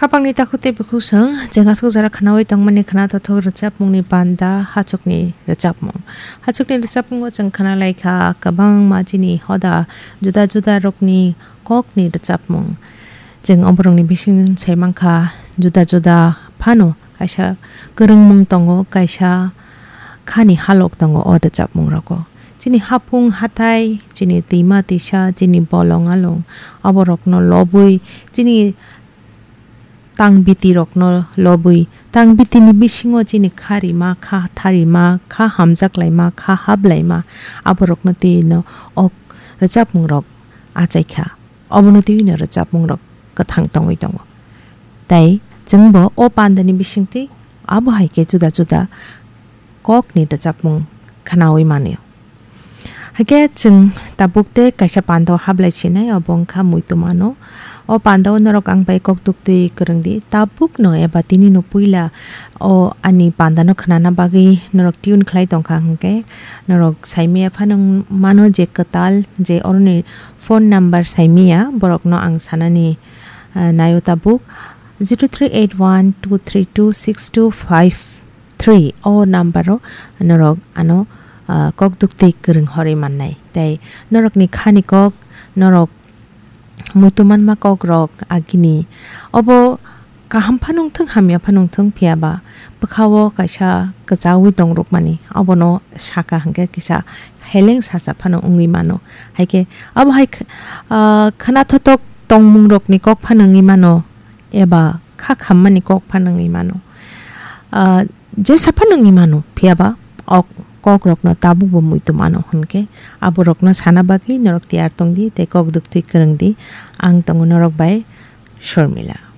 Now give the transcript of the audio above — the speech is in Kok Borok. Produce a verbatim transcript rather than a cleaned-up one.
Khapangni takhuk tei bukhuk chwng, chwng aswk jora khnaui tongmani khna tothok rwchapmungni panda hachukni rwchapmung. Hachukni rwchapmungo chwng khna lai kha kwbangma chini hoda juda juda rokni kokni rwchapmung. Chwng oborokni bising sai mankha juda juda phano kaisa kwrwngmung tongo, kaisa khani halok tongo o rwchapmung rogo. Chini hapung hatai, chini twima twisa, chini bolong along, oborokno lobwi, chini tang biti rokno lobwi, tang biti ni bisingo chini kha rima, kha tharima, kha hamjak laima, kha hap laima, aborokno twi no ok rwchapmung rok achai kha. Obono twi no rwchapmung rok kwthang tongwi tongo. Tai chwngbo o panda ni bisingtwi abo hai khe juda juda kokni rwchapmung khnaui mano. Hakhe chwng tabuk tei kaisa panda o hablai sinai, obo wngkha muitu mano. O panda o norok ang bai kok duktwi kwrwng di. Tabuk no eba tini no puila o ani panda no khnana bagwi norok tune khlai tongkha hwnkhe norok saimaya phano mano je kwtal je oroni phone number saimaya borok no ang sanani, ah, naio tabuk zero three eight one two three two six two five three o number o norok ano, ah, kok duktwi kwrwng horwi mannai. Tei norokni khani kok, norok muitu manma kok rok agini obo kaham phano wngthung, hamya phano wngthung, phiya ba bwkha o kaisa kwchaui tong rwkmani obono saka hwnkhe kisa heleng sasa phano wngwi mano. Hai khe abo hai kh-, ah, khna thothok tongmung rokni kok phano wngwi mano. Eba kha khammani kok phano wngwi mano. Ah, jesa phano wngwi mano, phiya ba ok-, kok rokno tabuk bo muitu mano hwnkhe aborokno sana bagwi norok tiyar tong di tei kok duktwi kwrwng di. Ang tongo norok bai Shormila.